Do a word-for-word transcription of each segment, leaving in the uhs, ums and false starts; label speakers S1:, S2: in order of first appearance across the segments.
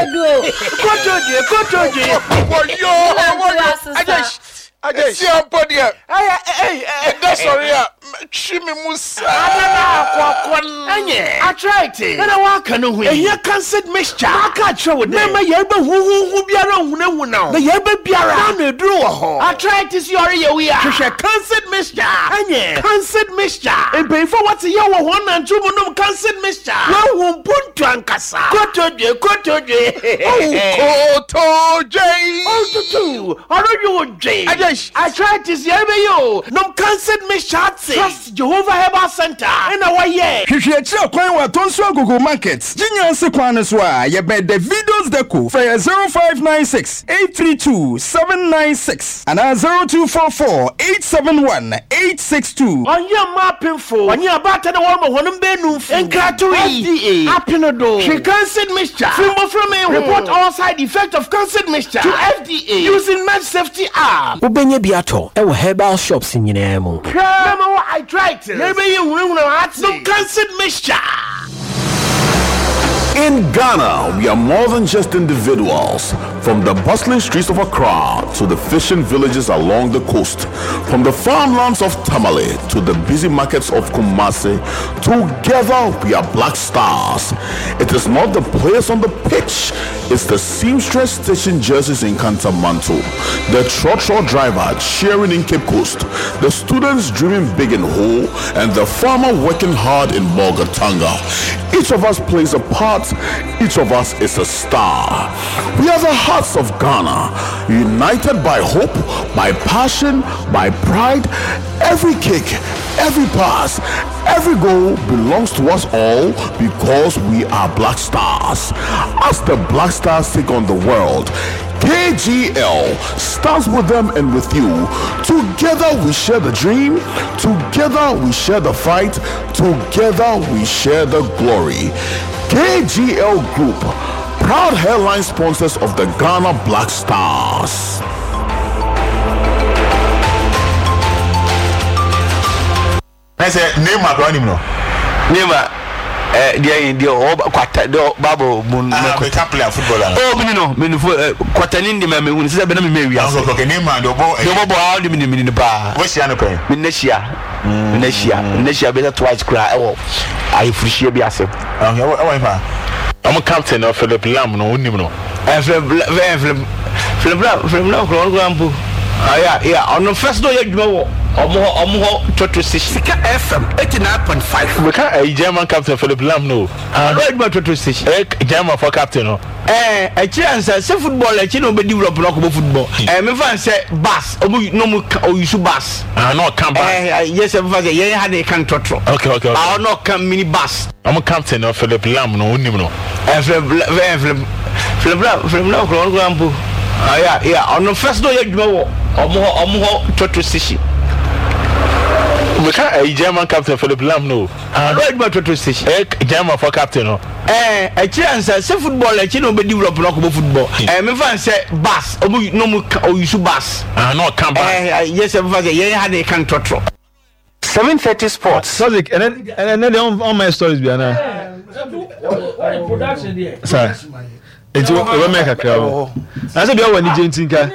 S1: Edu.
S2: Kotodwe, kotodwe.
S3: Wɔyɔ, wɔyɔ. Agye, agye. Si ampo deɛ.
S2: Ɛyɛ, ɛyɛ,
S3: Ɛda sɔre a, twi mi mu saa.
S2: Adana akɔkɔ. Ɛnyɛ. Arthritis. Ɛna waka no ho yi. Ehia cancer mixture. Maka akyerɛ wo dɛ. Mɛma yɛreba huhuhu biara nhunahuna wo. Na yɛreba biara. N'ano eduru wɔ hɔ. Arthritis yɛ ɔreyɛ wo yi a. Hwehwɛ cancer mixture. Ɛnyɛ. Cancer mixture. Mpanyinfo a wɔte yɛ wɔ wɔn nantu mu nom cancer mixture. Wɔahu mpuntu ankasa. Kotodwe, kotodwe.
S3: Oh, kotodwe.
S2: Otutu. Ɔredwe wo dwe.
S3: Agye.
S2: Arthritis yɛreba yi o. Nom cancer mixture ate. Trust Jehovah Herbal Center. Ɛna wɔyɛ.
S4: Hwehwɛ akyirɛ kwan wɔ Atonsu Agogo Market, Gyinya kwan no so a yɛbɛn Davidos Deco. Frɛ yɛ zero five nine six eight three two seven nine six anaa zero two four four eight seven one eight six two.
S2: Ɔnyɛ mmaa apemfo, ɔnyɛ abaata na wɔrema wɔn mbɛnum fu nkrato yi F D A apene do. Hwɛ cancer mixture firi mbɔfra mi ho. Report all side effect of cancer mixture to F D A using Med Safety app.
S5: Wobɛnya bi atɔ ɛwɔ herbal shops nyinaa mu.
S2: Hwɛ, mɛma wɔ arthritis yɛbɛyɛ hunahuna ate nom cancer mixture.
S6: In Ghana, we are more than just individuals. From the bustling streets of Accra to the fishing villages along the coast, from the farmlands of Tamale to the busy markets of Kumasi, together we are Black Stars. It is not the players on the pitch, it's the seamstress stitching jerseys in Kantamanto, the trotro driver cheering in Cape Coast, the students dreaming big in Ho, and the farmer working hard in Bolgatanga. Each of us plays a part, each of us is a star. We are the hearts of Ghana, united by hope, by passion, by pride. Every kick, every pass, every goal belongs to us all because we are Black Stars. As the Black Stars take on the world, K G L stands with them and with you. Together we share the dream, together we share the fight, together we share the glory. K G L Group, proud headline sponsors of the Ghana Black Stars.
S7: Ɛsɛ Neymar kora nim no.
S8: Neymar ɛ deɛ deɛ ɔwɔ kwata deɛ baabo mu no.
S7: Ah, better player, footballer.
S8: Oh, mi ni no mi ni fo ɛ kwata ni ndi ma mi hu ni sisan bɛ na mi mɛ wi ase.
S7: Okay okay Neymar deɛ ɔbɔ.
S8: Deɛ ɔbɔ bɔ awo de mi ni mi ni paa.
S7: Wɔhyia no pɛn?
S8: Mi ne hyia mi ne hyia mi ne hyia bɛ sɛ twice kura ɛwɔ ayefuruhyia bi ase.
S7: Okay, ɛwɔ ɛwɔ nifa.
S9: Ɔmo captain no, Philip Lahm no, wonim no?
S8: Ɛ Philip ɛ Philip Philip Lahm Philip Lahm kura ɔno kura mpo ɔyɛ yɛ ɔno first na ɔyɛ adwuma wɔ ɔmo hɔ ɔmo hɔ trotro station.
S10: Sika F M eighty-nine point five.
S9: Meka ɛyi, German captain Philip Lahm no.
S8: Ɔyɛ adwuma trotro station.
S9: Ɛyɛ German fo captain no.
S8: Ɛɛ akyire ansa sɛ football akyi na ɔbɛ develop na ɔkɔbɔ football. Ɛɛ mefa n sɛ bus ɔmo na ɔmo ka ɔyusu bus.
S9: Ah, na ɔka bus.
S8: Ɛɛ yɛ sɛ mefa sɛ yɛn ha de ka ntrɔtrɔ.
S9: okay okay okay
S8: Ah, ɔno ɔka mini bus.
S9: Ɔmo captain no, Philip Lahm no, wonim no?
S8: Ɛɛ Philip ɛ Philip Philip Lahm Philip Lahm kura ɔno kura mpo ɔyɛ yɛ ɔno first na ɔyɛ adwuma wɔ ɔmo hɔ ɔmo hɔ trotro station.
S9: Meka ɛyi, German captain Philip Lahm no.
S8: Ɔyɛ adwuma trotro station.
S9: Ɛyɛ German fo captain no.
S8: Ɛɛ akyire ansa sɛ football akyi na ɔbɛ develop na ɔkɔbɔ football. Ɛɛ mefa n sɛ bus ɔmo na ɔmo ka ɔyusu bus.
S9: Ah, na ɔka bus.
S8: Ɛɛ yɛ sɛ mefa sɛ yɛn ha de ka ntrɔtrɔ.
S10: seven thirty Sports.
S11: Sadiq, ɛnɛ ɛnɛ deɛ ɔn my stories bi ana sa nti ɔbɛ mɛ kakra o na sɛ bia wɔ anigye nti nka.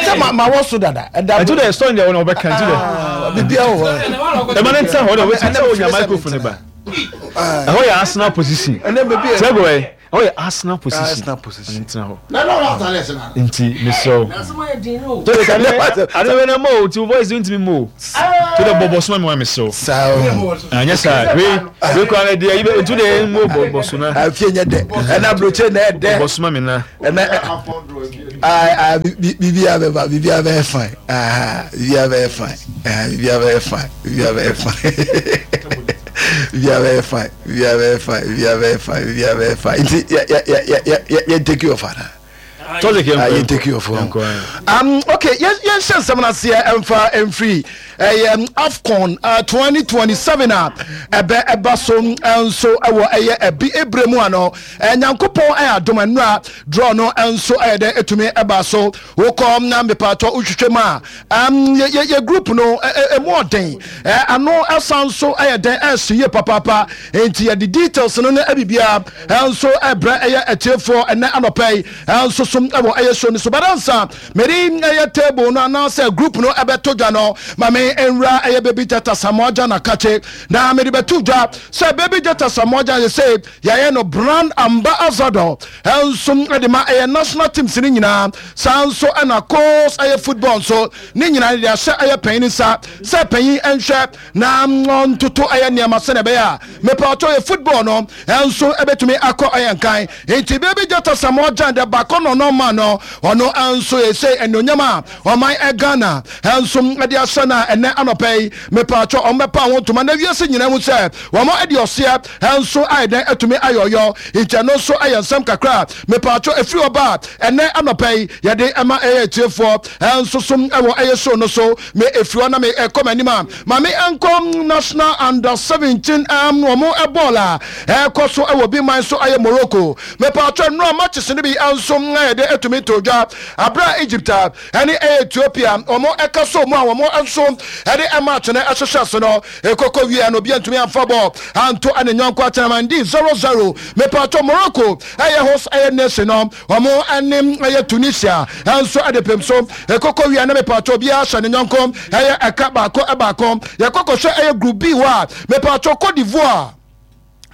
S12: Sɛ ma ma wɔ so dada ɛda.
S11: Ɛnti dɛ story deɛ wɔn ɔbɛka nti dɛ.
S12: Bibia wɔ hɔ.
S11: Ɛma ne nsa hɔ dɛ wɔsi sɛ onya microphone ba, ɛhɔ yɛ Arsenal position.
S12: Ɛnɛ baabi
S11: sɛ ɛgɔ yɛ ɛhɔ yɛ Arsenal position.
S12: Arsenal position.
S11: Ɛne ntena hɔ.
S13: Na na ɔlɔ atale ɛsɛ na.
S11: Nti mesrɛ wo to de kane ade bɛ na mo o ti voice ntumi mo o to de bɔbɔ soma mi wa, mesrɛ wo.
S12: Saa o.
S11: Anyɛ saa wei wei kura na deɛ yibe ntu de mo bɔbɔ so na.
S12: Afie nyɛ dɛ, ɛna aburokye na ɛdɛ.
S11: Bɔbɔ soma mi na.
S12: Ɛnɛ aa bibi abɛba, bibi abɛyɛ fine, bibi abɛyɛ fine, bibi abɛyɛ fine, bibi abɛyɛ fine, bibi abɛyɛ fine, bibi abɛyɛ fine, bibi abɛyɛ fine, bibi abɛyɛ fine. Nti yɛ yɛ yɛ yɛ yɛ yɛ take you off ana.
S11: Tɔsek yɛn
S12: Ah, yɛn take you off hɔ. Um, okay, yɛn yɛn hyɛ nsɛm no aseɛ ɛmfa ɛmfiri ɛyɛ um, AFCON uh, twenty twenty-seven a ɛbɛ ɛba so nso ɛwɔ ɛyɛ ɛbi ebire mu ano. Nyankopɔn ɛyɛ adom, nnura draw no nso ɛyɛ dɛ ɛtumi ɛba so. Wokɔ na mepatɔ wohwehwɛ mu a, um, yɛ yɛ yɛ group no ɛ ɛ ɛmu ɔden, ɛ ano ɛsan so ɛyɛ dɛn ɛsi yie papaapa. Nti yɛde details no ne ɛbibia ɛnso ɛbrɛ ɛyɛ ɛtiefoɔ ɛnɛ anɔpɛ yi ɛnso so ɛwɔ ɛyɛ show no so. Badansa mɛde ɛyɛ table no anaasɛ group no ɛbɛto dwa no, maame nwura ɛyɛ Baby Jata Samoa na kakye na mɛde bɛto dwa sɛ Baby Jata Samoa yɛ sɛ yɛayɛ no brand ambassador ɛnso ɛde ma ɛyɛ national teams no nyinaa. Saa nso ɛna course ɛyɛ football nso ne nyinaa de ahyɛ ɛyɛ panyin nsa sɛ panyin nhwɛ na ntoto ɛyɛ nneɛma sɛnɛ ɛbɛyɛ a mepatɔ yɛ football no ɛnso ɛbɛtumi akɔ ɛyɛ nkan. Nti Baby Jata Samoa Gyan de baako nɔnɔ ma no, ɔno ɛnso yɛsɛ ɛnuonyam a ɔman ɛ Ghana ɛnso ɛde ahyɛ no a, ɛnɛ anɔpɛ yi mepatɔ ɔmbɛpa ho ntoma na wiase nyinaa mu sɛ wɔn ɛde ɔseɛ ɛnso ayɛ dɛn ɛtumi ayɔyɔ. Nti ɛno nso ɛyɛ nsɛm kakra mepatɔ efiri ɔba ɛnɛ anɔpɛ yi yɛde ɛma ɛyɛ etiefoɔ ɛnso so ɛwɔ ɛyɛ show no so. Me efiri hɔ na me ɛkɔ m'anim a, maame ɛnkɔ national under seventeen ɛm wɔn ɛbɔɔl a ɛkɔ so ɛwɔ bi man so ɛyɛ Morocco. Mepatɔ nnura matches no bi ɛnso ɛyɛ de ɛtumi to dwa abira Egypt a ɛne ɛyɛ Ethiopia wɔn ɛka so mu a wɔn nso ɛde ɛmatch no ɛhyehyɛ so no ekoko wie no, obi ntumi anfa bɔɔl anto ɛne nyɔnko atenaman zero zero. Mepatɔ Morocco ɛyɛ host ɛyɛ nation no, wɔn ɛne ɛyɛ Tunisia ɛnso ɛde pem so ekoko wie no, mepatɔ obiara hyɛ ne nyɔnko ɛyɛ ɛka baako ɛbaako. Yɛkɔkɔ hwɛ ɛyɛ group B hɔ a, mepatɔ Cote d'Ivoire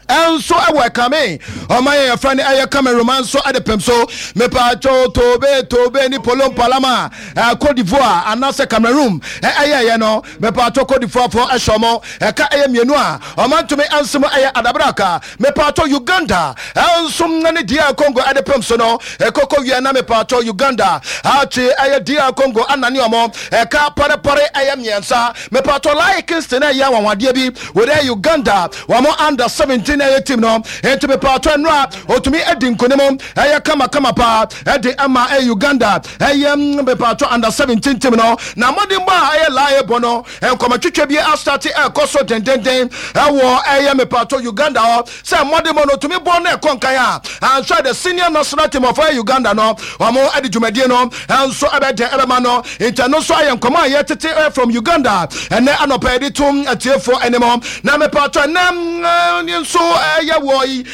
S12: ɛnso ɛwɔ ɛkame ɔman yɛ yɛfrɛ no ɛyɛ Cameroon nso ɛde pɛm so. Mepatwo tobe tobe ni polom palama ɛ Cote d'Ivoire anaasɛ Cameroon ɛyɛ ɛyɛ no, mepatwo Cote d'Ivoire fo ɛhyɛ ɔmo ɛka ɛyɛ mmienu a ɔman ntumi ɛnso mu ɛyɛ adabraka. Mepatwo Uganda ɛnso ne D R Congo ɛde pɛm so no, ɛkoko wie na mepatwo Uganda akyi ɛyɛ D R Congo anane ɔmo ɛka pɔrepɔre ɛyɛ mmiɛnsa. Mepatwo Lai Kingston ɛyɛ awanwadeɛ bi wɔde Uganda wɔn under seventeen ɛyɛ team no. Nti mepatɔ nnura otumi adi nkonim ɛyɛ kamakama paa ɛde ɛma ɛyɛ Uganda ɛyɛ mepatɔ under seventeen team no. Na mmɔdenbɔ a ɛyɛ laaye bɔ no, nkɔmɔtwitwa bi asate ɛkɔ so dendenden ɛwɔ ɛyɛ mepatɔ Uganda hɔ sɛ mmɔdenbɔ no otumi bɔ no ɛkɔ nkan a, anhwɛ the senior national team of ɛyɛ Uganda no, wɔn ɛde dwumadie no ɛnso ɛbɛdɛn ɛbɛma no. Nti ɛno nso ayɛ nkɔmɔ a yɛtete ɛ from Uganda ɛnɛ anɔpɛ yɛde tom atiefoɔ anim. Na mepatɔ ɛnɛ nso ɛyɛ wɔ yi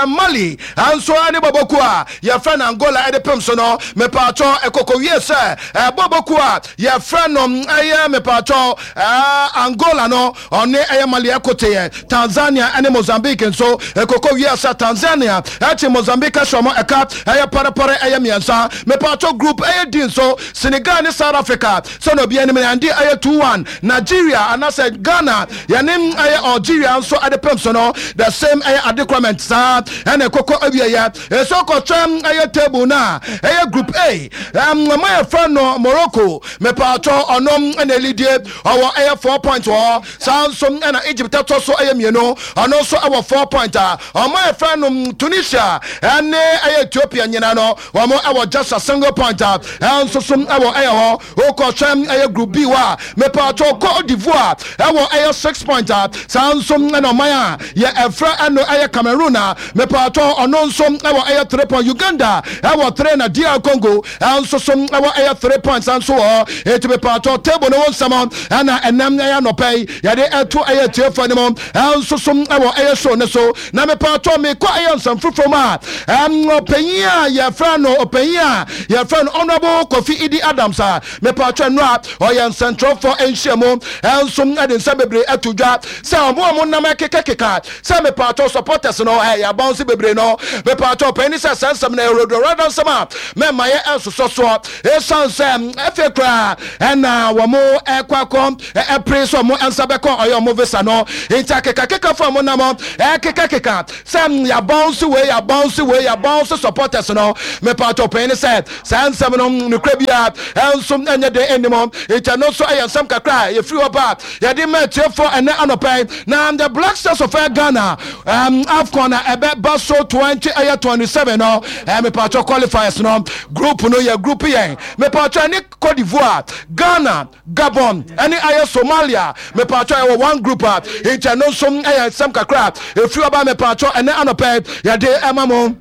S12: Mali nso ɛne bɔbɔku a yɛfrɛ no Angola ɛde pem so no, mepatɔ ɛkɔkɔ wie sɛ ɛbɔbɔku a yɛfrɛ no ɛyɛ mepatɔ Angola no, ɔne ɛyɛ Mali ɛkoteɛ. Tanzania ɛne Mozambique nso ɛkɔkɔ wie sɛ Tanzania ɛkye Mozambique ahyɛ ɔmo ɛka ɛyɛ pɔrepɔre ɛyɛ mmiɛnsa. Mepatɔ group ɛyɛ di nso, Senegal ne South Africa sɛna obi anim yɛnde ɛyɛ two one. Nigeria anaasɛ Ghana yɛne ɛyɛ Algeria nso ɛde pem so no, the same ɛyɛ adekorament saa ɛna ɛkɔkɔ awieyɛ. Ɛsɛ kɔhwɛ ɛyɛ table no a, ɛyɛ group A, ɛma yɛfrɛ no Morocco, mepatɔ ɔno ɛna elidie, ɔwɔ ɛyɛ four point wɔ hɔ. Saa nso ɛna Egypt ɛtɔ so ɛyɛ mmienu, ɔno nso ɛwɔ four point a ɔmo yɛfrɛ no Tunisia ɛne ɛyɛ Ethiopia nyina no, wɔn ɛwɔ just a single point a ɛnso so ɛwɔ ɛyɛ hɔ. Wokɔhwɛ ɛyɛ group B hɔ a, mepatɔ Cote d'Ivoire ɛwɔ ɛyɛ six point a saa nso ɛna ɔman a yɛ ɛfrɛ ɛno ɛyɛ Cameroon a, mepatɔ ɔno nso ɛwɔ ɛyɛ three point. Uganda ɛwɔ three na D R Congo ɛnso so ɛwɔ ɛyɛ three points nso wɔ hɔ. Eti mepatɔ table no ho nsɛm ɛna ɛnam ɛyɛ anɔpɛ yi yɛde ɛto ɛyɛ tiefo anim ɛnso so ɛwɔ ɛyɛ show ne so. Na mepatɔ mekɔ ɛyɛ nsɛm foforɔ mu a, ɛm ɔpanyin a yɛfrɛ no ɔpanyin a yɛfrɛ no Honourable Kofi Idi Adams a, mepatɔ no a ɔyɛ nsɛntwerɛfoɔ nhyiamu ɛnso ɛde nsɛm bebree ɛto dwa sɛ ɔmo a ɔmo nam ɛkekakeka sɛ mepatɔ supporters no ɛyɛ abansi bebree no, mepatɔ ɔpanyin sɛ sɛ nsɛm no ɛwurodoro nsɛm a mɛma yɛ ɛsosɔ soɔ, ɛsiane sɛ ɛfɛ koraa ɛna wɔn ɛkɔ akɔ ɛpere sɛ ɔmo nsa bɛkɔ ɔyɛ ɔmo visa no. Nti akekakeka fo a ɔmo nam ɛkekakeka sɛ yɛabounce wei, yɛabounce wei, yɛabounce supporters no, mepatɔ ɔpanyin sɛ saa nsɛm no nokora bia ɛnso ɛnyɛ den anim. Nti ɛno nso ɛyɛ nsɛm kakra a yɛfiri hɔ ba yɛde ma atiefoɔ ɛnɛ anɔpɛ. Na the Black Stars of Ghana um, AFCON na ɛbɛba so twenty ɛyɛ twenty seven no ɛɛ mepatwɔ qualifiers no group no yɛ group yɛn mepatwɔ ɛne Cote d'Ivoire Ghana Gabon ɛne ɛyɛ Somalia mepatwɔ ɛwɔ one group a nkyɛn no nso ɛyɛ nsɛm kakra efiri ɔba mepatwɔ ɛnɛ anɔpɛ yɛde ɛma mo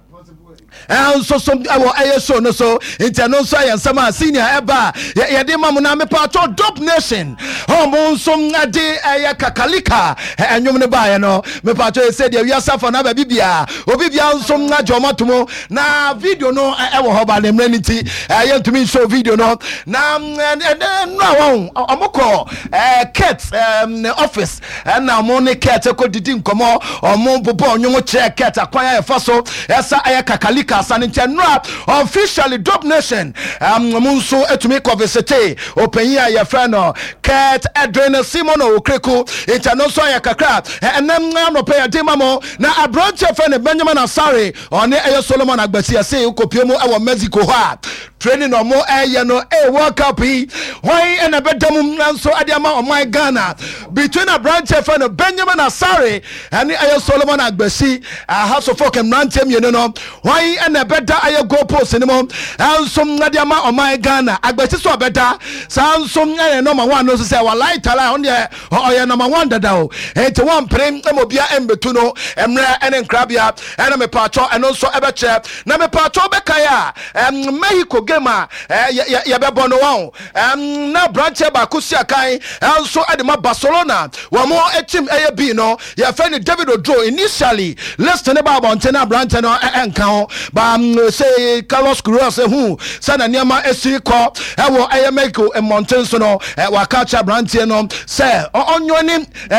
S12: nso so ɛwɔ ɛyɛ show no so nti ɛno nso ɛyɛ nsɛm a senior ɛba a yɛde ma mo na mepatwɔ dope nation ɔmo nso ɛde ɛyɛ kakalika ɛnwom no baeɛ no mepatwɔ ɛsɛ deɛ wiase afa no aba bibia obi bia nso agye ɔmo ato mu na video no ɛwɔ hɔ ba ne mmerɛ no nti ɛyɛ ntumi nhyɛ video no na ɛnɛ no a wɔn ɔmo kɔ ɛɛ Kurt ne office ɛna ɔmo ne Kurt kɔ didi nkɔmɔ ɔmo bobɔ ɔnwom kyerɛ Kurt akwan a yɛfa so ɛsa ɛyɛ kakalika asa ne nkyɛn nora officially dope nation ɔmo nso etumi kɔ visit ɔpanyin a yɛfrɛ no Kurt Edwin Simon Okraku nkyɛn no nso ayɛ kakra ɛnɛm anɔpɛ yɛde ma mo na aberanteɛ fɛ no Benjamin Asare ɔne ɛyɛ Solomon Agbasi ɛsɛ kɔpie mu ɛwɔ Mexico hɔ a training na ɔmo ɛyɛ no ɛyɛ World Cup yi hwan ɛna ɛbɛda mu nso ɛde ama ɔman Ghana between aberanteɛ fɛ no Benjamin Asare ɛne ɛyɛ Solomon Agbasi ahasofo mmeranteɛ mmienu no hwan ɛna ɛbɛda ɛyɛ goal post no mu ɛnso ɛde ama ɔman Ghana Agbasi so ɔbɛda saa nso ɛyɛ number one no nso sɛ walai tala ɔno deɛ ɔyɛ number one dada o eti wɔn mpere ɛma obia ɛmbɛtu no mmerɛ ɛne nkrabea ɛna mepatwɔ ɛno nso ɛbɛkyerɛ na mepatwɔ bɛkae a ɛm Mexico game a ɛɛ yɛbɛbɔ no wɔn ɛm na aberanteɛ baako si akan ɛnso ɛde ma Barcelona wɔn mo team ɛyɛ bi no yɛfɛ no David Odro initially list ne ba abɔnten na aberanteɛ no ɛnka ho ba sɛ Carlos Queiroz ehu sɛ na nneɛma esi kɔ ɛwɔ ɛyɛ Mexico mmɔnten so no ɛ waka kyerɛ aberanteɛ no sɛ ɔnyɔ ne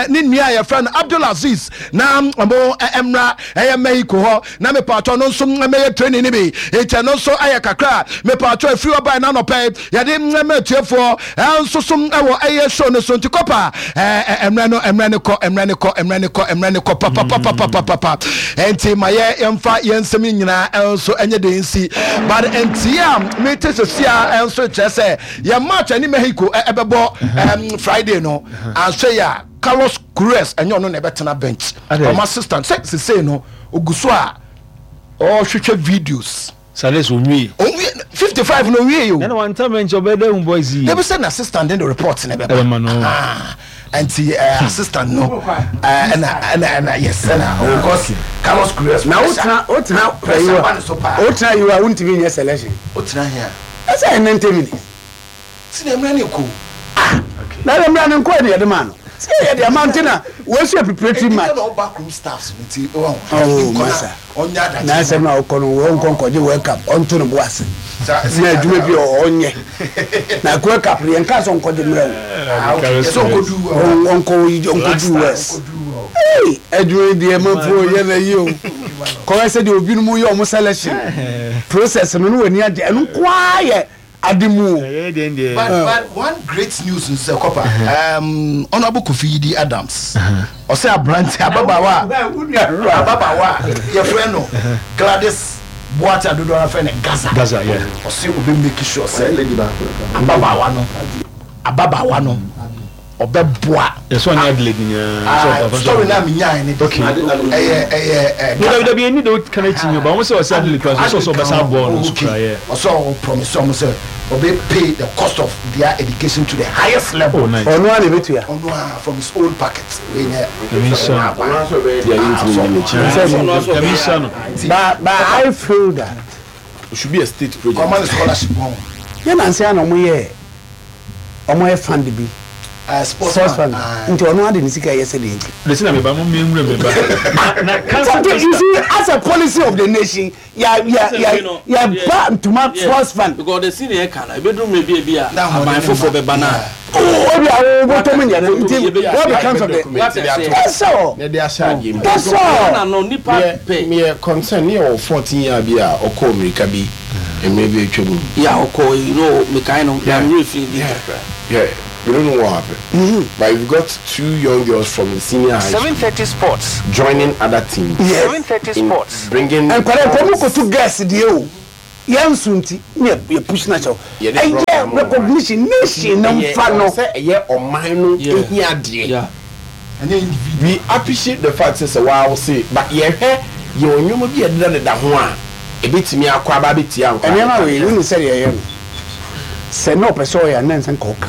S12: ne nua a yɛfrɛ no Abdul Aziz na ɔmo ɛmra ɛyɛ Mexico hɔ na mepatɔ no nso mɛyɛ training no bi nkyɛn no nso ɛyɛ kakra mepatɔ efiri ɔbaa n'anɔpɛ yɛde mmɛmɛ atiefoɔ ɛnso so ɛwɔ ɛyɛ show no so nti kɔpa ɛɛ mmerɛ no mmerɛ no kɔ mmerɛ no kɔ mmerɛ no kɔ mmerɛ no kɔ papapapapapa nti ma yɛ yɛmfa yɛn nsɛm nyinaa ɛnso ɛnyɛ de nsi but nti a mete sisi a ɛnso kyerɛ sɛ yɛn match ɛne Mexico ɛbɛbɔ ɛm Friday no anso yɛ a Carlos Queiroz ɛnyɛ ɔno na ɛbɛtena bench ɔmo assistant sɛ sise no ogu so a ɔhwehwɛ videos.
S11: Sales onwie.
S12: Onwie fifty five na onwie yi o.
S11: Ɛna wɔn ntam nkyɛn ɔbɛ dɛ hun boys yi.
S12: Ebi sɛ na assistant de report ne bɛ ba.
S11: Ɛbɛ ma no.
S12: Nti assistant no ɛna ɛna ɛna yes ɛna of course Carlos Queiroz.
S1: Na o tena o tena
S12: pressure ba ne so paa.
S1: O tena yi wa o ntumi nyɛ selection.
S12: O tena hia.
S1: Ɛsɛ yɛ ninety minutes.
S12: Sinɛ mmerɛ ne ko.
S1: Ah na yɛ mmerɛ ne nko yɛ de yɛ de maa no. Sɛ yɛ de ama nti na wɔasi a preparatory match.
S12: Ɛdi na ɔba kurom staffs nti ɔn.
S1: Oh masa. Na asɛm na ɔkɔ no wɔn nkɔ nkɔgye World Cup ɔnto ne bo ase. Na adwuma bi ɔnyɛ. Na World Cup yɛn nka sɛ ɔnkɔgye mmerɛ o. Ɔnkɔ ɔnkɔdu West. Ee adwuma yi deɛ manfo yɛ na yi o. Kɔyɛ sɛ deɛ obinom yɛ ɔmo selection process no no wɔ ani agye ɛno nkoa yɛ. Adimu.
S12: But but one great news nso sɛ kɔpa um, Honourable Kofi Yidi Adams ɔsɛ aberante ababaawa ababaawa yɛfrɛ no Gladys Boate adodoɔ ara frɛ no Gaza
S11: Gaza yeah
S12: ɔsɛ obi make sure sɛ ababaawa no ababaawa no ɔbɛboa.
S11: Yɛsɛ ɔnyɛ Adelaide nyinaa.
S12: Story naa mi nyaa ne de. Ɛyɛ ɛyɛ ɛ.
S11: Dabi dabi eni de o kana ekyi nyɛ ba wɔn sɛ ɔsɛ Adelaide kura so ɔsɛ ɔbɛsa aboa ɔno nso kura yɛ.
S12: Ɔsɛ ɔ promise ɔmo sɛ ɔbɛ pay the cost of their education to the highest level.
S11: Oh nice.
S1: Ɔno a na ebetua.
S12: Ɔno a from his own pocket. Wei nyɛ.
S11: Nyame nhyira no. Nyame nhyira no.
S1: But but I feel that.
S6: It should be a state project.
S12: Ɔma no scholarship wɔn.
S1: Yɛ nansi a na ɔmo yɛ ɔmo yɛ fund bi.
S12: Uh, sports
S1: fund nti ɔno ade ne sika yɛ sɛ deɛ nti.
S11: Lesi na meba mo mi nwura meba. Na cancer
S1: tester. You see as a policy of the nation ya ya ya ya ba ntoma sports fund.
S13: Because the senior kan na ebeduru mi ebi ebi a aban foforɔ bɛ ba na.
S1: Obi a wo bɔtɔ mu nyɛ no nti what becomes of the. That's all. That's all.
S13: Na no nipa pɛ.
S14: Mi yɛ concern ne yɛ wɔ fourteen year bi a ɔkɔ Amerika bi mmerɛ bi atwa mu.
S13: Ya ɔkɔ you know mekan no na mi refi bi kakra.
S14: Yeah. We don't know what happened. Mm-hmm. But you've got two young girls from the senior high school.
S10: seven thirty Sports.
S14: Joining other teams.
S1: Yes.
S10: seven thirty Sports.
S14: Bringing.
S1: And kɔrɔ kɔ to girls deɛ o. Yɛn nso nti ne yɛ push na kyɛw. Ɛyɛ recognition nation na nfa no.
S14: Sɛ ɛyɛ ɔman no ehia deɛ. We appreciate the fact sɛ sɛ waa say, but yɛhwɛ yɛwɔ nneɛma bi a ɛdeda deda ho a ebetumi akɔ aba abetia nkɔ.
S1: Nneɛma wei wonu sɛ deɛ ɛyɛ no sɛ na ɔpɛ sɛ ɔyɛ a na nsɛ nka ɔka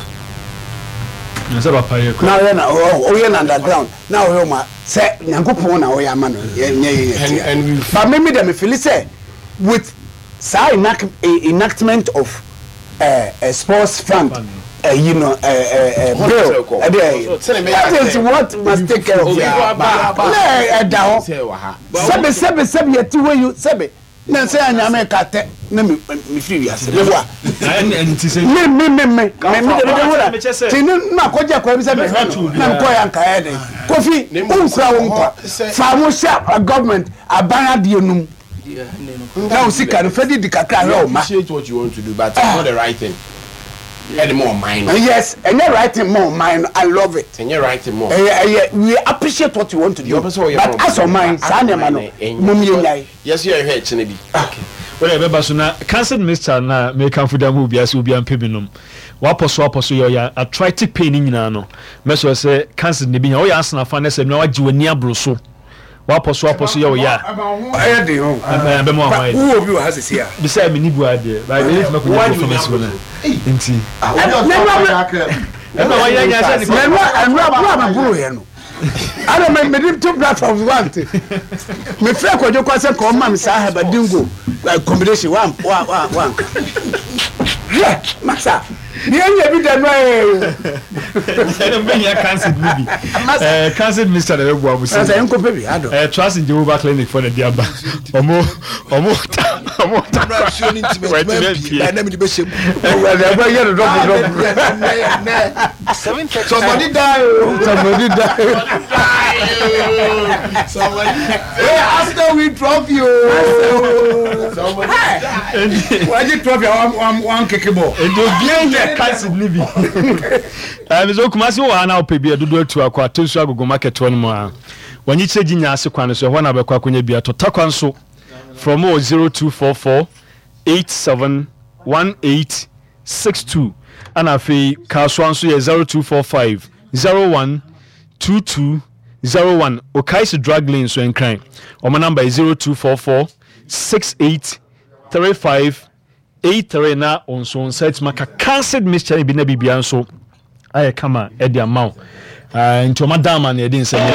S11: sɛ papa yɛ
S1: na ɔyɛ na ɔyɛ na underground na ɔyɛ ɔma sɛ Nyankopɔn na ɔyɛ ama no yɛ nyɛ yɛ yɛ tia, but me me dɛ me feel sɛ with saa enact enactment of uh, uh, sports fund, uh, you know, uh, uh, uh, bill, uh, that is what must take care of. Na ɛda hɔ sɛbi sɛbi sɛbi yɛte hɔ yi, sɛbi na sɛ anyame ka tɛ na mi mi firi wiase mi wa mi mi mi mi mi mi de mi de ho la ti ne na kɔgye akɔyɛ bi sɛ mi hwɛ no na mi kɔ yɛ nka yɛ de Kofi nkura wo nkwa fa mo hyɛ government aban adeɛ num na o sika no fɛ di di kakra hwɛ o ma.
S14: Appreciate what you want to do, but it's not the right thing. Ɛde mo ɔman no.
S1: Yes, ɛnyɛ right thing mo ɔman no. I love it.
S14: Ɛnyɛ right thing mo.
S1: Ɛyɛ ɛyɛ we appreciate what you want to do, but as ɔman saa nneɛma no mo mi yɛ nyae.
S14: Yɛsɛ yɛ hwɛ ɛkyɛnɛ bi.
S11: Wọ́n yɛ bɛba so na cancer mixture na mɛkanfo da mu obiara sɛ obiara mpɛ bi nom wapɔ so apɔ so yɛ ɔyɛ arthritic pain ne nyinaa no mɛsɔ sɛ cancer ne bi nya ɔyɛ asena ne sɛ nua wagye w'ani aboro so wapɔ so apɔ so yɛ ɔyɛ a
S1: ɛyɛ den o
S11: ɛbɛma wa hɔ ayɛ
S1: wowɔ bi wɔ ha sisi a
S11: bisa mi ni bu adeɛ baabi ne tuma ko nyɛ pharmacy wɔ na nti ɛna wɔyɛ nya sɛ
S1: ne ɛnura ɛnura buru a mɛ buru yɛ no ana mɛ mɛ di two platforms one te mɛ fɛ kɔjɔ kɔ sɛ kɔ ɔma mi saa hɛba dingo combination wa wa wa wa nka yɛ masa ni yɛn nyɛ bi da no yɛ
S11: ɛna mbɛ nya cancer ni bi ɛɛ cancer minister na bɛ bu abusi
S1: ɛsɛ nkɔ pɛ bi adɔ
S11: ɛɛ Trust in Jehovah Clinic fɔ na di aba ɔmo ɔmo ta ɔmo ta
S12: kɔ wɔtumi pie ɛnna mi de bɛ se mu
S1: ɛwɛ ɛbɛ yɛ no dɔbɔ dɔbɔ
S12: somebody die o
S1: somebody die
S12: somebody hey Arsenal win trophy o
S1: somebody die wagye trophy a wan wan keke bɔ
S11: edo bie yɛ cancer ni bi ɛɛ miso Kumasi wɔ ha na ɔpɛ bi ɛdodo atu akɔ ato nsu agogo market hɔ nom a wɔnyi kyerɛ gyi nya ase kwan so ɛhɔ na bɛkɔ akɔnya bi atɔ takwa nso from o zero two four four eight seven one eight six two ɛna afei Kasoa nso yɛ zero two four five zero one two two zero one Okaisi drug lane nso nkran wɔn number yɛ zero two four four six eight three five eight three na nso nsa etuma ka cancer mixture bi na bibia nso ayɛ kama ɛde ama wo nti ɔma dama na yɛde nsɛm yɛ.